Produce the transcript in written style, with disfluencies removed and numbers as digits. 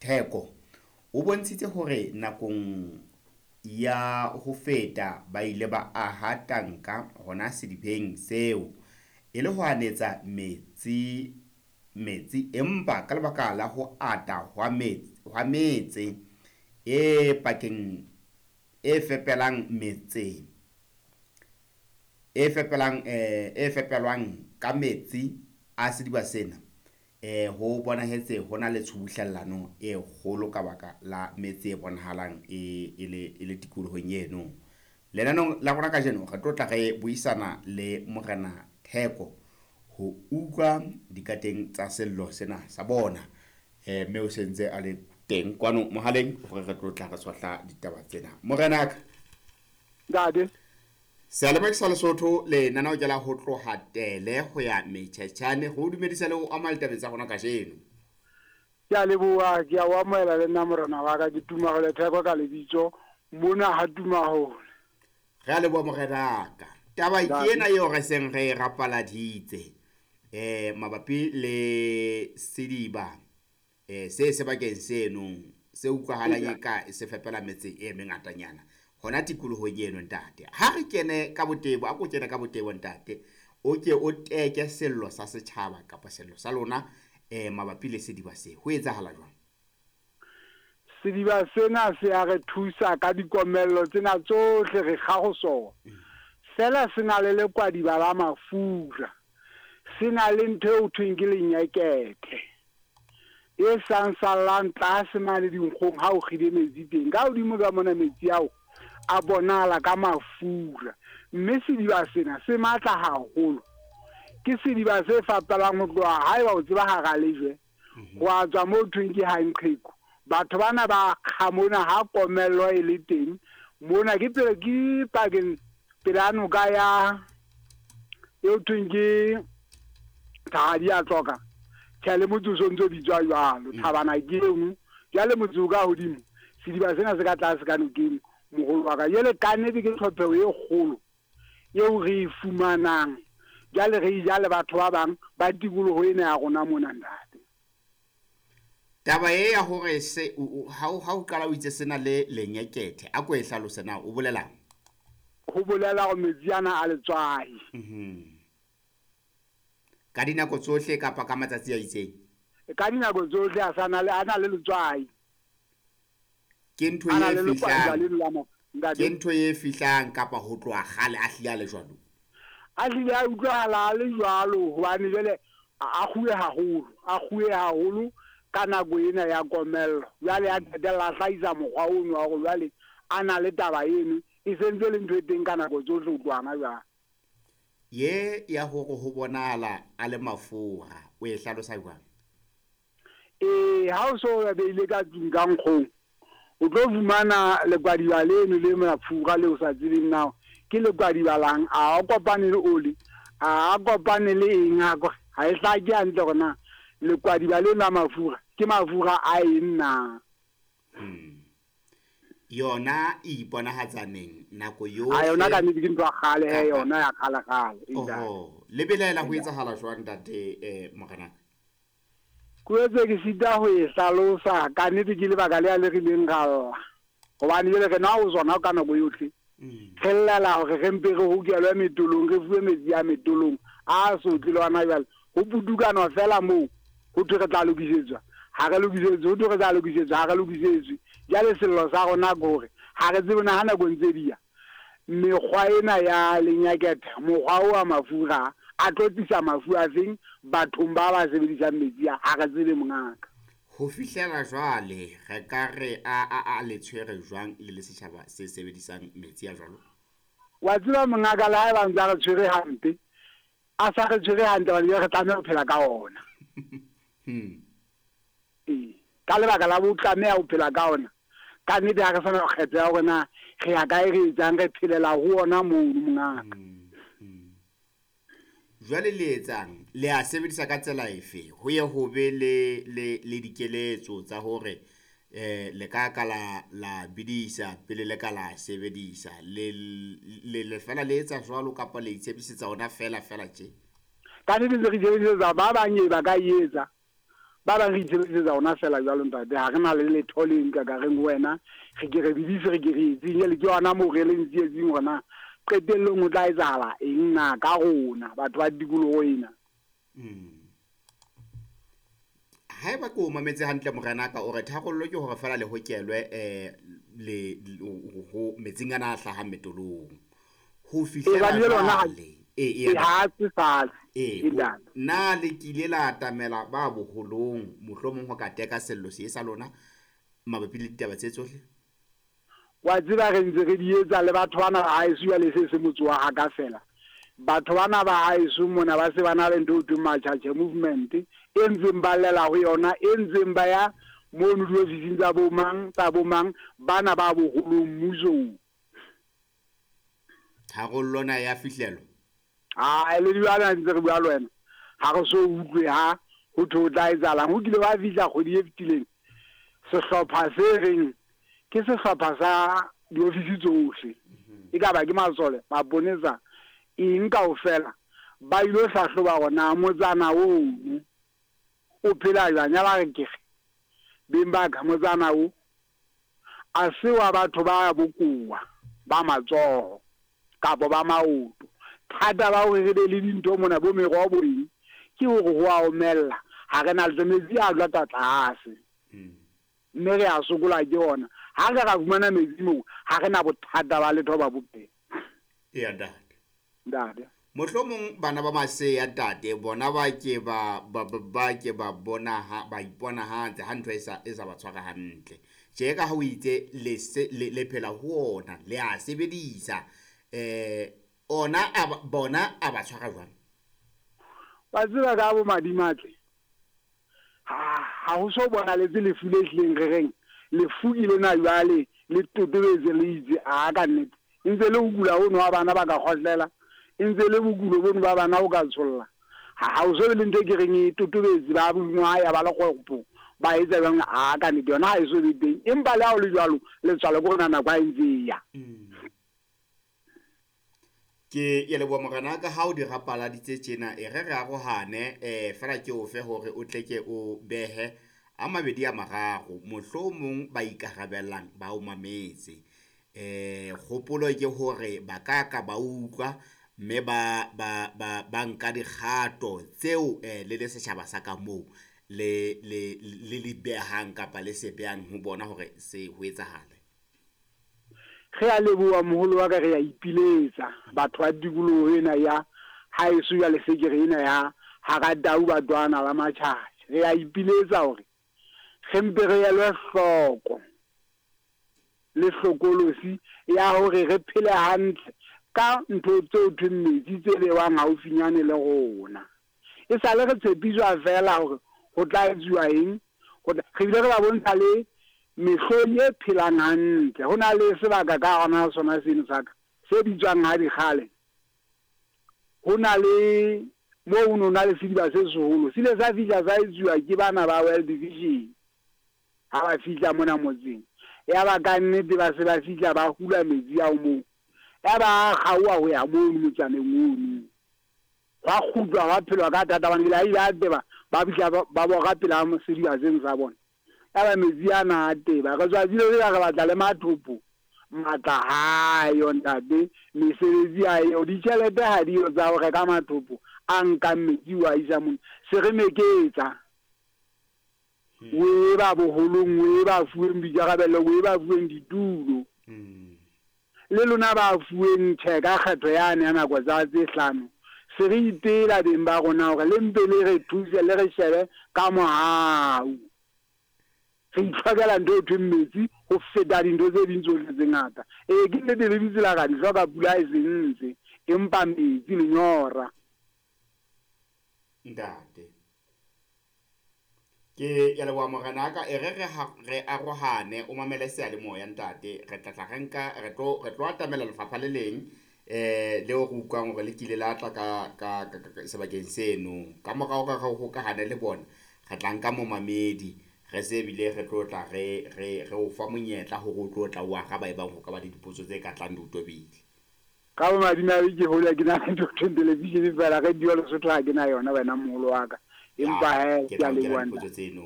Theko o bontshitse hore nakong ya ho feta ba ile ba aha tanka hona sedibeng seo e le ho hanetsa metsi empa ka lebaka la ho ata hwa metse e pakeng e fepelang metse e fepelang e fepelwang ka metsi a sediba sena, ho bonahetse hona le tshubuhlellano e kgolo ka baka la metsi e bonahalang e le tikolohong eno. Lenaneong la rona kajeno re tlo tla re buisana le Morena Theko ho utlwa dikateng tsa sello sena sa bona, mme o sentse a le teng kwano mohaleng hore re tlo tla re tshohla ditaba tsena. Morenaka ntate, Seyalemoya sa Lesotho lenaneo ke la ho tloha Tele ho ya Metjhetjhane, ho dumedisa le ho amohela ditabeng tsa rona kajeno. Ke a leboha, ke a o amohela le nna morena wa ka, ke Tumahole Theko ka lebitso, mona ha Tumahole. Re a leboha morenaka. Taba ke ena eo re seng re rapaladitse mabapi le sediba se sebakeng seno se utlwahalang eka se fepela metse e mengatanyana hona tikolohong eno ntate. Ha re kene ka botebo, a ko kene ka botebo ntate, o ke o teke sello sa setjhaba kapa sello sa lona mabapi le sediba se. Ho etsahala jwang? Sediba sena se a re thusa ka dikomello tsena tsohle re kga ho sona. Fela se na le lekwadiba la mafura, se na le ntho eo thweng ke lenyekethe e sang sallang tlase mane dinkgong ha o kgile metsi teng. Ka hodimo ka mona metsi ao a bonahala ka mafura, mme sediba sena se matla haholo. Ke sediba se fapelang ho tloha haeba o tseba hara lejwe, ho a tswa moo thweng ke Hanqheku. Batho bana ba kga mona ha komello e le teng mona, ke pele ke pakeng pela noka ya eo thweng ke Thahadi ya Tloka. Tjhe, le motse o sontso bitswa jwalo, Thabana ke eno. Jwale motse o ka hodimo, sediba sena se ka tlase ka nokeng, moholo wa ka. Jwale ka nnete ke tlhopheho e kgolo eo re e fumanang. Jwale re e ja le batho ba bang ba tikoloho ena ya rona mona ntate. Taba e ya hore se ha o qala o itse sena le lenyekethe, a ko e hlalose na o bolelang? Ho bolela hore metsi ana a letswai. Ka dinako tsohle kapa ka matsatsi a itseng? Ka dinako tsohle a sana le ana le letswai. Ke ntho e fihlang. Ke ntho e fihlang kapa ho tloha kgale a hlile a le jwalo? A hlile a utlwahala a le jwalo hobane jwale a kguwe haholo, a kguwe haholo ka nako ena ya komello. Jwale a qetella a hlahisa mokgwa ono wa hore jwale a na le taba eno e sentse le ntho e teng ka nako tsohle ho tloha hona jwale. Ye ya hore ho bonahala a le mafura, o e hlalosa jwang? Ha o so beile ka tlung ka nkgong, o tlo fumana lekwadiba leno le mafura le o sa tsebeng na ke lekwadiba lang, a o kopane le oli, a kopane le eng, ha e hlake hantle hore na lekwadiba leno la mafura ke mafura a eng na. Yona e iponahatsa neng nako yohle? A yona ka nnete ke ntho ya kgale he, yona ya kgale kgale. Oho, le belaela ho etsahala jwang ntate morenaka? Ke etse ke sita ho e hlalosa ka nnete, ke lebaka le a le rileng ra lla hobane jwale re nwa ho tsona ka nako yohle. Re llela hore re mpe re hokelwe metolong, re fuwe metsi a metolong a sotle le hona jwale. Ho putukanwa fela moo, ho thwe re tla lokisetswa, ha re lokisetswe, ho thwe re tla lokisetswa, ha re lokisetswe. Jwale sello sa rona ke hore ha re tsebe na ha nako ntse di ya mekgwa ena ya lenyakethe, mokgwa o wa mafura a tlo tlisa mafu a feng bathong ba ba sebedisang metsi a, ha re tsebe mongaka. Ho fihlela jwale re ka re a le tshwere jwang le le setjhaba se sebedisang metsi a jwalo? Wa tseba mongaka, le haeba ntse a re tshwere hampe, a sa re tshwere hantle hobane re tlameha ho phela ka ona. Ka lebaka la bo tlameha ho phela ka ona, ka nnete ha re sana kgetho ya hore na re ya kae, re etsang, re phelela ho ona mono mongaka. Jwale le etsang, le a sebedisa ka tsela efe? Ho ye ho be le dikeletso tsa hore le ka ka la bidisa pele le ka la sebedisa. Le fela le etsa jwalo kapa le itshepisetsa ona fela fela tje? Ka nnete re itshepisetsa, ba bang e ba ka e etsa. Ba bang re itshebedisetsa ona fela jwalo ntate, ha re na le letho le nka ka reng ho wena re ke re bidise re ke re etseng. Jwale ke yona moo re leng tsietsing hore na qetellong ho tla etsahala eng na ka rona batho ba tikoloho ena. Haeba ke o mametse hantle morenaka, o re tharollo ke hore fela le hokelwe le ho metsing ana a hlahang metolong ho fihlela jwale. Ha se fatshe. Na le kile la atamela ba boholong mohlomong ho ka teka sello se sa lona mabapi le ditaba tse tsohle? Wa tseba re ntse re di etsa le batho bana ba haeso jwale se se motse wa haka fela. Batho bana ba haeso mona ba se ba na le ntho e thweng Machache movement e ntseng ba llela ho yona, e ntseng ba ya mono diofising tsa bo mang tsa bo mang bana ba boholong mmusong. Tharollo na ya fihlelwa? A le jwale ntse re bua le wena, ha re so utlwe ha ho thwe ho tla etsahalang. Ho kile wa fihla kgwedi e fetileng sehlopha se reng ke sehlopha sa diofisi tsohle, e ka ba ke masole, maponesa, eng kaofela, ba ilo hlahloba hore na motsana ono o phela jwang. Ya ba re ke re beng ba ka motsana o a se wa batho ba bokowa ba matsoho kapa ba maoto. Thata ba hore re be le dintho mona bo meroho bo eng, ke hore ho a omella, ha re na le metsi a jwata tlase, mme re a sokola ke ona. Ha re ra fumana metsi moo, ha re na bothata ba letho ba bophelo. Eya ntate. Ntate. Mohlomong bana ba maseya ntate bona ba ke ba ba ke ba bona ha ba iponahatse ha ntho e sa ba tshwara hantle. Tje ka ha o itse le se le phela ho ona, le a sebedisa ona a bona a ba tshwara jwang? Wa tseba ka bo madimatle, ha ho so bonaletse lefu le hlileng re reng lefu ke lena jwale le totobetse le itse a ka nnete. E ntse le ho kula hono wa bana ba ka kgohlela, e ntse le bokulo bono ba bana o ka tsholla. Ha ho so be le ntho e ke reng e totobetse ba bongwaya ba le kgopo ba etsa jwang, a ka nnete yona ha e so be teng. Empa le ha ho le jwalo letswalo ke rona nako ha e ntse e ya. Ke ya leboha morenaka ha o di rapaladitse tjena, e re re arohane fela ke o fe hore o tle ke o behe a mabedi a mararo, mohlomong ba ikarabellang ba o mametse. Kgopolo ke hore ba ka ka ba utlwa mme ba ba ba ba nka dikgato tseo le le setjhaba sa ka moo le le le le behang kapa le se behang ho bona hore se ho etsahale. Re a leboha moholo wa ka, re a ipiletsa batho ba tikoloho ena ya haeso jwale se ke re ena ya hara Tau Batwana ba Matjhatjhe. Re a ipiletsa hore re mpe re elwe hloko le hlokolosi ya hore re phele hantle ka ntho tseo thweng metsi tse bewang haufinyane le rona. E sale re tshepiswa fela hore ho tla etsuwa eng, re bile re ba bontsha le mehlodi e phelang hantle. Ho na le sebaka ka hona sona seno sa ka se bitswang ha dikgale. Ho na le moo ho no na le sediba se seholo, se ile sa fihla sa etsuwa ke bana ba World Vision ha ba fihla mona motseng. Ya ba ka nnete ba se ba fihla ba hula metsi ao moo, ya ba kgaoha ho ya mono motsaneng ono. Hwa kgutlwa hwa phelwa ka thata hobane ebile ha ile a teba ba fihla ba bora pela sediba seno sa bona. Ya ba metsi ana a teba. Re tswa le re batla le mathopo, matla hayo ntate, mesebetsi ha eyo, ditjhelete ha diyo tsa ho reka mathopo a nkang metsi wa isa mona. Se re meketsa o e ba boholong, o e ba fuweng boikarabelo, o e ba fuweng ditulo. Le lona ba fuweng tjhe ka kgetho yane ya nako tsa tse hlano, se re ipela beng ba rona hore le mpe le re thuse, le re shebe ka mohau. Re itlhokela ntho e thweng metsi ho feta dintho tse ding tsohle tse ngata. Ee, ke nnete le ditsela ra di hloka, pula e se ntse, empa metsi lenyora. Ntate, ke ya leboha morenaka, e re re arohane, o mamele seyalemoya ntate. Re tla tla re nka re tlo atamela lefapha le leng leo re utlwang hore le kile la tla ka sebakeng seno. Ka morao ka re hokahane le bona, re tla nka momamedi, re se bile re tlo tla re re re o fa monyetla hore o tlo tla o araba ebang ho ka ba le dipotso tse ka tlang di o tobile. Ka bo madimabe ke hole ke na le ntho thweng television fela, radio Lesotho ha ke na yona wena moholo wa ka. Empa he Ke ke a tla o kena leboha dipotso ntate. tseno.